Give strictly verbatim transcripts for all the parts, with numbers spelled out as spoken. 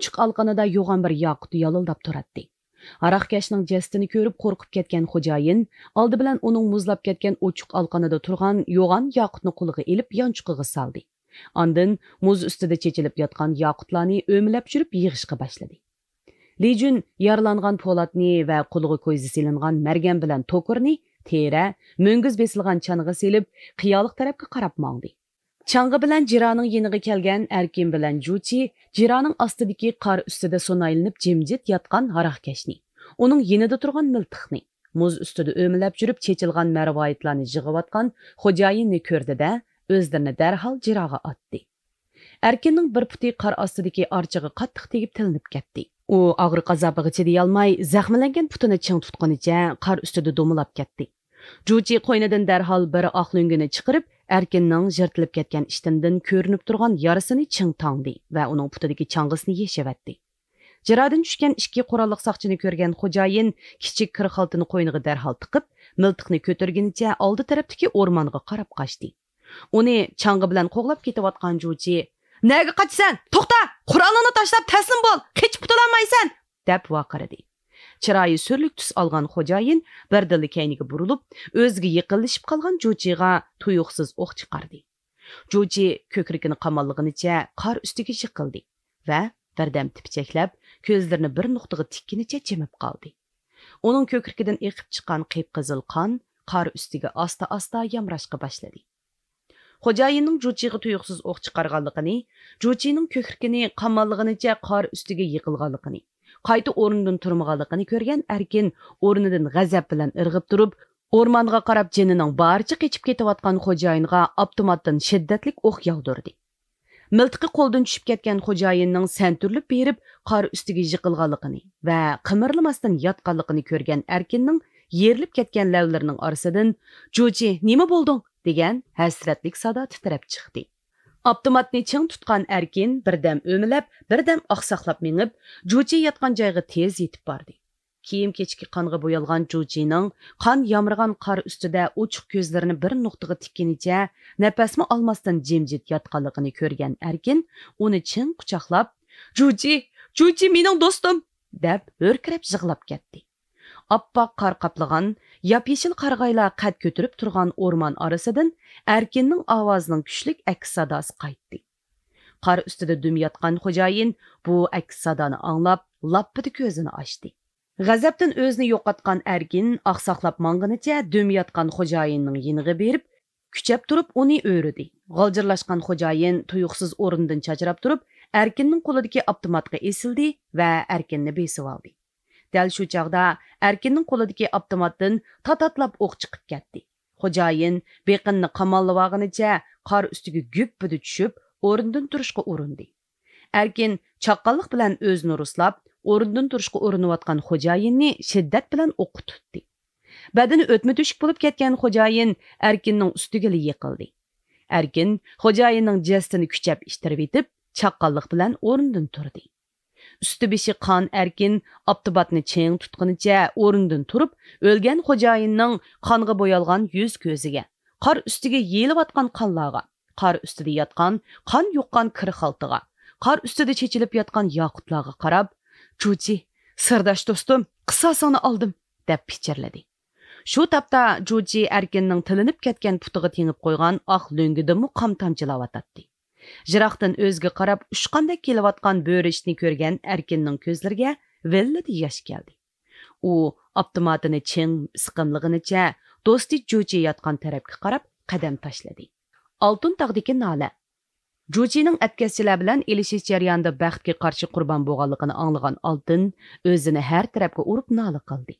ئوچۇق ئالقىنىدا يوغان بىر ياقۇت يالىلداپ تۇراتتى. ھاراقكەشنىڭ جەسىتىنى كۆرۈپ قورقۇپ كەتكەن خوجايىن ئالدى بىلەن ئۇنىڭ مۇزلاپ كەتكەن ئوچۇق ئالقىنىدا تۇرغان يوغان ياقۇتنى قولىغا ئېلىپ يانچۇقىغا سالدى. ئاندىن مۇز ئۈستىدە چېچىلىپ ياتقان ياقۇتلارنى ئۆمىلەپ چۈشۈرۈپ يىغىشقا باشلىدى. لى جۈن يارىلانغان پولاتنى ۋە قولىغا كويزا سېلىنغان مەرگەن بىلەن توكۇرنى تېرە، مۈڭگۈز بېسىلغان چانىغا سېلىپ، قىيالىق تەرەپكە قاراپ ماڭدى. چاڭغا بىلەن جىرانىڭ يېنىغا كەلگەن ئەركىن بىلەن جۇچى جىرانىڭ ئاستىدىكى قار ئۈستىدە سۇنايلىنىپ جىمجىت ياتقان ھاراقكەشنى، ئۇنىڭ يېنىدا تۇرغان مىلتىقنى، مۇز ئۈستىدە ئۆمىلەپ يۈرۈپ چېچىلغان مەرۋايىتلارنى يىغىۋاتقان خوجايىننى كۆردى-دە، ئۆزلىرىنى دەرھال جىراغا ئاتتى. ئەركىننىڭ بىر پۇتى قار ئاستىدىكى ئارچىغا قاتتىق تېگىپ تىلىنىپ كەتتى. ئۇ ئاغرىق ئازابىغا چىدىيالماي، زەخىملەنگەن پۇتىنى چىڭ تۇتقىنىچە قار ئۈستىدە دومىلاپ كەتتى. جۇچى قوينىدىن دەرھال بىر ئاق لۆڭگىنى چىقىرىپ، ئەركىننىڭ يىرتىلىپ كەتكەن ئىشتىنىدىن كۆرۈنۈپ تۇرغان يارىسىنى چىڭ تاڭدى ۋە ئۇنىڭ پۇتىدىكى چاڭغىسىنى يېشىۋەتتى. جىرادىن چۈشكەن ئىككى قوراللىق ساقچىنى كۆرگەن خوجايىن كىچىك كىر خالتىنى قوينىغا دەرھال تىقىپ، مىلتىقنى كۆتۈرگىنىچە ئالدى تەرەپتىكى ئورمانغا قاراپ قاچتى. ئۇنى چاڭغا بىلەن قوغلاپ كېتىۋاتقان جۇچى، «نەگە قاچىسەن؟ توختا! قورالىڭنى تاشلاپ تەسلىم بول! قېچىپ قۇتۇلالمايسەن!» دەپ ۋارقىرىدى. چىرايى سۈرلۈك تۈس ئالغان خوجايىن بىردىنلا كەينىگە بۇرۇلۇپ، ئۆزىگە يېقىنلىشىپ قالغان جۇچىغا تۇيۇقسىز ئوق چىقاردى. جۇچى كۆكرىكىنى قاماللىغىنىچە قار ئۈستىگە يىقىلدى ۋە بىردەم تىپچەكلەپ، كۆزلىرىنى بىر نۇقتىغا تىككىنىچە جىمىپ قالدى. ئۇنىڭ كۆكرىكىدىن ئېقىپ چىققان قىپقىزىل قان قار ئۈستىگە ئاستا-ئاستا يامراشقا باشلىدى. خوجايىننىڭ جۇچىغا تۇيۇقسىز ئوق چىقارغانلىقىنى، جۇچىنىڭ كۆكرىكىنى قاماللىغىنىچە قار ئۈستىگە يىقىلغانلىقىنى، قايتا ئورنىدىن تۇرمىغانلىقىنى كۆرگەن ئەركىن ئورنىدىن غەزەپ بىلەن ئىرغىپ تۇرۇپ، ئورمانغا قاراپ جېنىنىڭ بارىچە قېچىپ كېتىۋاتقان خوجايىنغا ئاپتوماتتىن شىددەتلىك ئوق ياغدۇردى. مىلتىقى قولدىن چۈشۈپ كەتكەن خوجايىننىڭ سەنتۈرۈلۈپ بېرىپ قار ئۈستىگە يىقىلغانلىقىنى ۋە قىمىرلىماستىن ياتقانلىقىنى كۆرگەن ئەركىننىڭ يېرىلىپ كەتكەن لەۋلىرىنىڭ ئارىسىدىن، «جۇچى، نېمە بولدۇڭ؟» دېگەن ھەسرەتلىك سادا تىترەپ چىقتى. ئاپتوماتنى چىڭ تۇتقان ئەركىن بىردەم ئۆمىلەپ، بىردەم ئاقساقلاپ مېڭىپ، جۇچى ياتقان جايغا تېز يېتىپ باردى. كىيىم-كېچىكى قانغا بويالغان جۇچىنىڭ قان يامرىغان قار ئۈستىدە ئوچۇق كۆزلىرىنى بىر نۇقتىغا تىككىنىچە نەپەسمۇ ئالماستىن جىمجىت ياتقانلىقىنى كۆرگەن ئەركىن ئۇنى چىڭ قۇچاقلاپ، «جۇچى، جۇچى مېنىڭ دوستۇم!» دەپ ھۆركىرەپ يىغلاپ كەتتى. ئاپئاق قار قاپلىغان، ياپيېشىل قارىغايلار قەد كۆتۈرۈپ تۇرغان ئورمان ئارىسىدىن ئەركىننىڭ ئاۋازىنىڭ كۈچلۈك ئەكس ساداسى قايتتى. قار ئۈستىدە دۈم ياتقان خوجايىن بۇ ئەكس سادانى ئاڭلاپ، لاپپىدە كۆزىنى ئاچتى. غەزەپتىن ئۆزىنى يوقاتقان ئەركىن ئاقساقلاپ ماڭغىنىچە دۈم ياتقان خوجايىننىڭ يېنىغا بېرىپ، كۈچەپ تۇرۇپ ئۇنى ئۆرۈدى. غالجىرلاشقان خوجايىن تۇيۇقسىز ئورنىدىن چاچراپ تۇرۇپ، ئەركىننىڭ قولىدىكى ئاپتوماتقا ئېسىلدى ۋە ئەركىننى بېسىۋالدى. دەل شۇ چاغدا ئەركىننىڭ قولىدىكى ئاپتوماتتىن تاتاتلاپ ئوق چىقىپ كەتتى. خوجايىن بېقىنىنى قاماللىۋالغىنىچە قار ئۈستىگە گۈپپىدە چۈشۈپ، ئورنىدىن تۇرۇشقا ئۇرۇندى. ئەركىن چاققانلىق بىلەن ئۆزىنى رۇسلاپ، ئورنىدىن تۇرۇشقا ئۇرۇنۇۋاتقان خوجايىننى شىددەت بىلەن ئوققا تۇتتى. بەدىنى ئۆتمە تۆشۈك بولۇپ كەتكەن خوجايىن ئەركىننىڭ ئۈستىگىلا يىقىلدى. ئەركىن خوجايىننىڭ جەسىتىنى كۈچەپ ئىتتىرىۋېتىپ، چاققانلىق بىلەن ئورنىدىن تۇردى. ئۈستى بېشى قان ئەركىن ئاپتوماتنى چىڭ تۇتقىنىچە ئورنىدىن تۇرۇپ، ئۆلگەن خوجايىننىڭ قانغا بويالغان يۈز كۆزىگە، قار ئۈستىگە يېيىلىۋاتقان قانلارغا، قار ئۈستىدە ياتقان قان يۇققان كىر خالتىغا، قار ئۈستىدە چېچىلىپ ياتقان ياقۇتلارغا قاراپ، «جۇچى، سىرداش دوستۇم، قىساسىڭنى ئالدىم!» دەپ پىچىرلىدى. شۇ تاپتا جۇچى ئەركىننىڭ تىلىنىپ كەتكەن پۇتىغا تېڭىپ قويغان ئاق لۆڭگىدىنمۇ قان تامچىلاۋاتاتتى. يىراقتىن ئۆزىگە قاراپ ئۇچقاندەك كېلىۋاتقان بۆرىچىنى كۆرگەن ئەركىننىڭ كۆزلىرىگە ۋىللىدە ياش كەلدى. ئۇ ئاپتوماتىنى چىڭ سىقىملىغىنىچە دوستى جۇچى ياتقان تەرەپكە قاراپ قەدەم تاشلىدى. ئالتۇن تاغدىكى نالە. جۇچىنىڭ ئەتكەسچىلەر بىلەن ئېلىشىش جەريانىدا بەختكە قارشى قۇربان بولغانلىقىنى ئاڭلىغان ئالتۇن ئۆزىنى ھەر تەرەپكە ئۇرۇپ نالە قىلدى.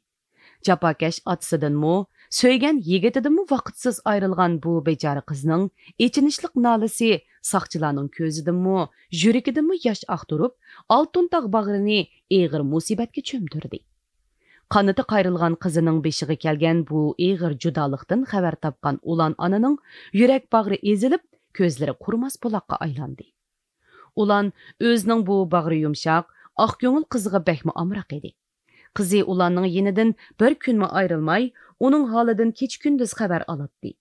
جاپاكەش ئاتىسىدىنمۇ، سۆيگەن يىگىتىدىنمۇ ۋاقىتسىز ئايرىلغان بۇ بىچارە قىزنىڭ ئېچىنىشلىق نالىسى ساقچىلارنىڭ كۆزىدىنمۇ، يۈرىكىدىنمۇ ياش ئاقتۇرۇپ، ئالتۇن تاغ باغرىنى ئېغىر مۇسىبەتكە چۆمدۈردى. قانىتى قايرىلغان قىزىنىڭ بېشىغا كەلگەن بۇ ئېغىر جۇدالىقتىن خەۋەر تاپقان ئۇلان ئانىنىڭ يۈرەك باغرى ئېزىلىپ، كۆزلىرى قۇرۇماس بۇلاققا ئايلاندى. ئۇلان ئۆزىنىڭ بۇ باغرى يۇمشاق، ئاق كۆڭۈل قىزىغا بەكمۇ ئامراق ئىدى. قىزى ئۇلاننىڭ يېنىدىن بىر كۈنمۇ ئايرىلماي، ئۇنىڭ ھالىدىن كېچە-كۈندۈز خەۋەر ئالاتتى.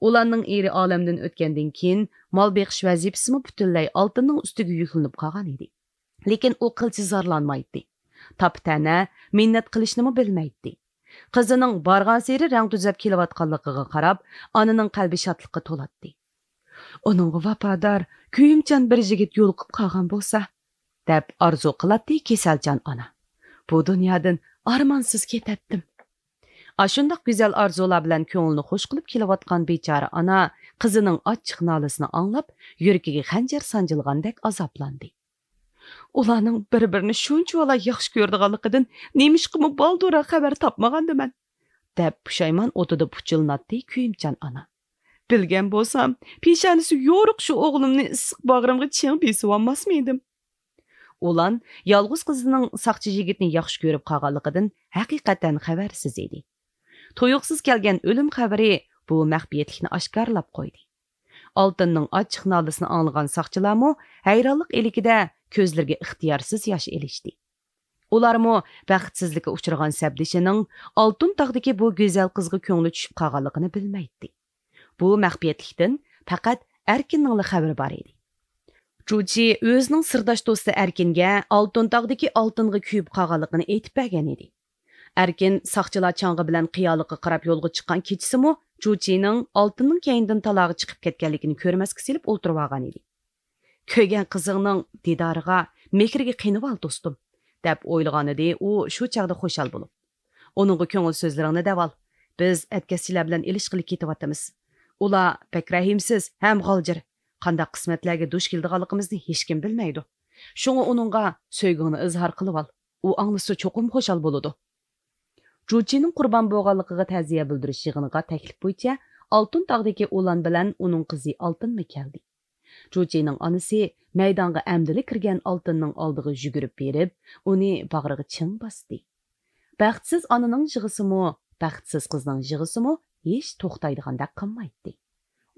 ئۇلاننىڭ ئېرى ئالەمدىن ئۆتكەندىن كېيىن، مال بېقىش ۋەزىپىسىمۇ پۈتۈنلەي ئالتۇننىڭ ئۈستىگە يۈكلىنىپ قالغان ئىدى. لېكىن ئۇ قىلچە زارلانمايتتى. تاپا-تەنە، مىننەت قىلىشنىمۇ بىلمەيتتى. قىزىنىڭ بارغانسېرى رەڭ تۈزەپ كېلىۋاتقانلىقىغا قاراپ، ئانىنىڭ قەلبى شادلىققا تولاتتى. «ئۇنىڭغا ۋاپادار، كۆيۈمچان بىر يىگىت يولۇقۇپ قالغان بولسا» دەپ ئارزۇ قىلاتتى كېسەلچان ئانا. «بۇ دۇنيادىن ئارمانسىز كېتەتتىم.» ئاشۇنداق گۈزەل ئارزۇلار بىلەن كۆڭلىنى خۇش قىلىپ كېلىۋاتقان بىچارە ئانا قىزىنىڭ ئاچچىق نالىسىنى ئاڭلاپ، يۈرىكىگە خەنجەر سانجىلغاندەك ئازابلاندى. «ئۇلارنىڭ بىر-بىرىنى شۇنچىۋالا ياخشى كۆرىدىغانلىقىدىن نېمىشقىمۇ بالدۇرراق خەۋەر تاپمىغاندىمەن؟» دەپ پۇشايمان ئوتىدا پۇچىلىناتتى كۆيۈمچان ئانا. «بىلگەن بولسام، پېشانىسى يورۇق شۇ ئوغلۇمنى ئىسسىق باغرىمغا چىڭ بېسىۋالماسمىدىم؟» ئۇلان يالغۇز قىزىنىڭ ساقچى يىگىتنى ياخشى كۆرۈپ قالغانلىقىدىن ھەقىقەتەن خەۋەرسىز ئىدى. تۇيۇقسىز كەلگەن ئۆلۈم خەۋىرى بۇ مەخپىيەتلىكنى ئاشكارىلاپ قويدى. ئالتۇننىڭ ئاچچىق نالىسىنى ئاڭلىغان ساقچىلارمۇ ھەيرانلىق ئىلكىدە كۆزلىرىگە ئىختىيارسىز ياش ئېلىشتى. ئۇلارمۇ بەختسىزلىككە ئۇچرىغان سەپدىشىنىڭ ئالتۇن تاغدىكى بۇ گۈزەل قىزغا كۆڭلى چۈشۈپ قالغانلىقىنى بىلمەيتتى. بۇ مەخپىيەتلىكتىن پەقەت ئەركىننىڭلا خەۋىرى بار ئىدى. جۇچى ئۆزىنىڭ سىرداش دوستى ئەركىنگە ئالتۇن تاغدىكى ئالتۇنغا كۆيۈپ قالغانلىقىنى ئېيتىپ بەرگەن ئىدى. ئەركىن ساقچىلار چاڭغا بىلەن قىيالىققا قاراپ يولغا چىققان كېچىسىمۇ جۇچىنىڭ ئالتۇننىڭ كەينىدىن تالاغا چىقىپ كەتكەنلىكىنى كۆرمەسكە سېلىپ ئولتۇرۇۋالغان ئىدى. كۆرگەن قىزىڭنىڭ دىدارىغا، مېھرىگە قېنىۋال، دوستۇم، دەپ ئويلىغانىدى ئۇ شۇ چاغدا خۇشال بولۇپ. ئۇنىڭغا كۆڭۈل سۆزلىرىڭنى دەۋال. بىز ئەتكەسچىلەر بىلەن ئېلىشقىلى كېتىۋاتىمىز. ئۇلار بەك رەھىمسىز ھەم غالجىر. قانداق قىسمەتلەرگە دۇچ كېلىدىغانلىقىمىزنى ھېچكىم بىلمەيدۇ. شۇڭا ئۇنىڭغا سۆيگۈڭنى ئىزھار قىلىۋال. ئۇ ئاڭلىسا چوقۇم خۇشال بولىدۇ. جۇچىنىڭ قۇربان بولغانلىقىغا تەزىيە بىلدۈرۈش يىغىنىغا تەكلىپ بويىچە ئالتۇن تاغدىكى ئۇلان بىلەن ئۇنىڭ قىزى ئالتۇنمۇ كەلدى. جۇچىنىڭ ئانىسى مەيدانغا ئەمدىلا كىرگەن ئالتۇننىڭ ئالدىغا يۈگۈرۈپ بېرىپ، ئۇنى باغرىغا چىڭ باستى. بەختسىز ئانىنىڭ يىغىسىمۇ، بەختسىز قىزنىڭ يىغىسىمۇ ھېچ توختايدىغاندەك قىلمايتتى.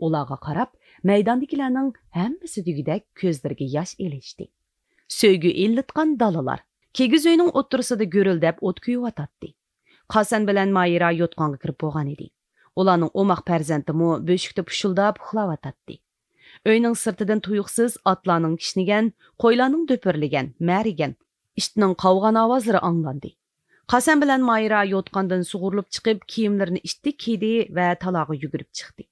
ئۇلارغا قاراپ، مەيداندىكىلەرنىڭ ھەممىسى دېگۈدەك كۆزلىرىگە ياش ئېلىشتى. سۆيگۈ ئىللىتقان دالىلار. كىگىز ئۆينىڭ ئوتتۇرىسىدا گۈرۈلدەپ ئوت كۆيۈۋاتاتتى. قاسەن بىلەن مايرا يوتقانغا كىرىپ بولغان ئىدى. ئۇلارنىڭ ئوماق پەرزەنتىمۇ بۆشۈكتە پۇشۇلداپ ئۇخلاۋاتاتتى. ئۆينىڭ سىرتىدىن تۇيۇقسىز ئاتلارنىڭ كىشنىگەن، قويلارنىڭ دۈپۈرلىگەن، مەرىگەن، ئىتنىڭ قاۋىغان ئاۋازلىرى ئاڭلاندى. قاسەن بىلەن مايرا يوتقاندىن سۇغۇرۇلۇپ چىقىپ، كىيىملىرىنى ئىتتىك كىيدى ۋە تالاغا يۈگۈرۈپ چىقتى.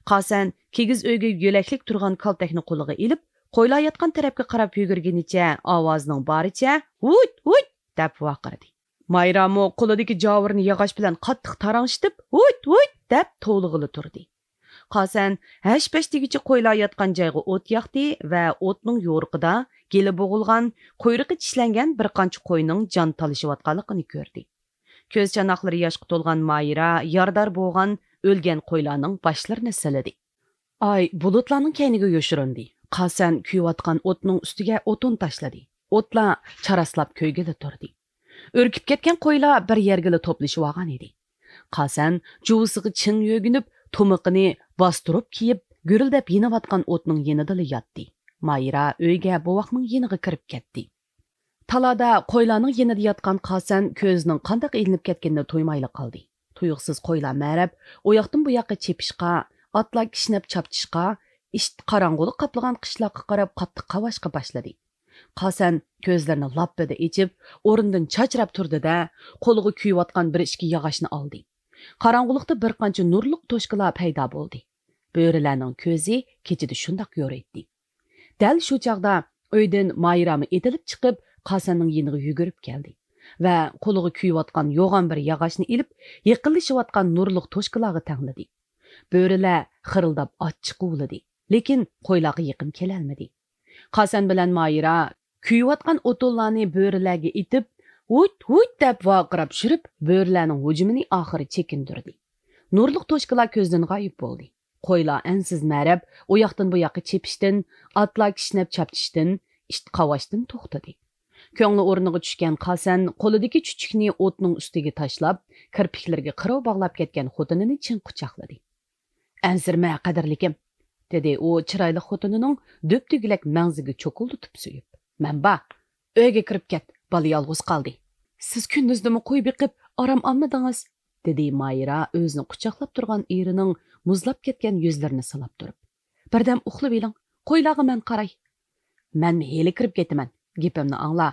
قاسەن كىگىز ئۆيگە يۆلەكلىك تۇرغان كالتەكنى قولىغا ئېلىپ، قويلار ياتقان تەرەپكە قاراپ يۈگۈرگىنىچە ئاۋازىنىڭ بارىچە «ھۇيت، ھۇيت!» دەپ ۋارقىرىدى. مايرامۇ قولىدىكى جاۋۇرىنى ياغاچ بىلەن قاتتىق تاراڭشىتىپ، «ھۇيت، ھۇيت!» دەپ توۋلىغىلى تۇردى. قاسەن ھەش-پەش دېگۈچە قويلار ياتقان جايغا ئوت ياقتى ۋە ئوتنىڭ يورۇقىدا گېلى بوغۇلغان، قۇيرۇقى چىشلەنگەن بىر قانچە قوينىڭ جان تالىشىۋاتقانلىقىنى كۆردى. كۆز چاناقلىرى ياشقا تولغان مايرا يارىدار بولغان ئۆلگەن قويلارنىڭ باشلىرىنى سىلىدى. ئاي بۇلۇتلارنىڭ كەينىگە يوشۇرۇندى. قاسەن كۆيۈۋاتقان ئوتنىڭ ئۈستىگە ئوتۇن تاشلىدى. ئوتلار چاراسلاپ كۆيگىلى تۇردى. ئۈركۈپ كەتكەن قويلار بىر يەرگىلا توپلىشىۋالغان ئىدى. قاسەن جۇۋىسىغا چىڭ يۆگىنىپ، تۇمىقىنى باستۇرۇپ كىيىپ، گۈرۈلدەپ يېنىۋاتقان ئوتنىڭ يېنىدىلا ياتتى. مايرا ئۆيگە بوۋاقنىڭ يېنىغا كىرىپ كەتتى. تالادا قويلارنىڭ يېنىدا ياتقان قاسەن كۆزىنىڭ قانداق ئىلىنىپ كەتكىنىنى تۇيمايلا قالدى. تۇيۇقسىز قويلار مەرەپ، ئۇياقتىن بۇياققا چېپىشقا، ئاتلار كىشنەپ چاپچىشقا، ئىت قاراڭغۇلۇق قاپلىغان قىشلاققا قاراپ قاتتىق قاۋاشقا باشلىدى. قاسەن كۆزلىرىنى لاپپىدە ئېچىپ، ئورنىدىن چاچراپ تۇردى-دە، قولىغا كۆيۈۋاتقان بىر ئىككى ياغاچنى ئالدى. قاراڭغۇلۇقتا بىر قانچە نۇرلۇق توشكىلار پەيدا بولدى. بۆرىلەرنىڭ كۆزى كېچىدە شۇنداق يورۇيتتى. دەل شۇ چاغدا ئۆيدىن مايرامۇ ئېتىلىپ چىقىپ، قاسەننىڭ يېنىغا يۈگۈرۈپ كەلدى ۋە قولىغا كۆيۈۋاتقان يوغان بىر ياغاچنى ئېلىپ، يېقىنلىشىۋاتقان نۇرلۇق توشكىلارغا تەڭلىدى. بۆرىلەر خىرىلداپ ئاچچىق ھۇۋلىدى، لېكىن قويلارغا يېقىن كېلەلمىدى. قاسەن بىلەن مايرا كۆيۈۋاتقان ئوتۇنلارنى بۆرىلەرگە ئېتىپ، ھۇيت، ھۇيت دەپ ۋارقىراپ چۈشۈرۈپ، بۆرىلەرنىڭ ھۇجۇمىنى ئاخىرى چېكىندۈردى. نۇرلۇق توشكىلار كۆزدىن غايىب بولدى. قويلار ئەنسىز مەرەپ، ئۇياقتىن بۇياققا چېپىشتىن، ئاتلار كىشنەپ چاپچىشتىن، ئىت قاۋاشتىن توختىدى. كۆڭلى ئورنىغا چۈشكەن قاسەن قولىدىكى چۈچۈكنى ئوتنىڭ ئۈستىگە تاشلاپ، كىرپىكلىرىگە قىرىۋ باغلاپ كەتكەن خوتۇنىنى چىڭ قۇچاقلىدى. ئەنسىرىمە، قەدىرلىكىم، دېدى ئۇ چىرايلىق خوتۇنىنىڭ دۈپدۈگىلەك مەڭزىگە چوكۇلدىتىپ سۆيۈپ. مەن بار، ئۆيگە كىرىپ كەت، بالا يالغۇز قالدى. سىز كۈندۈزدىمۇ قوي بېقىپ، ئارام ئالمىدىڭىز، دېدى مايرا ئۆزىنى قۇچاقلاپ تۇرغان ئېرىنىڭ مۇزلاپ كەتكەن يۈزلىرىنى سىلاپ تۇرۇپ. بىردەم ئۇخلىۋېلىڭ، قويلارغا مەن قاراي. مەنمۇ ھېلى كىرىپ كېتىمەن، گېپىمنى ئاڭلا.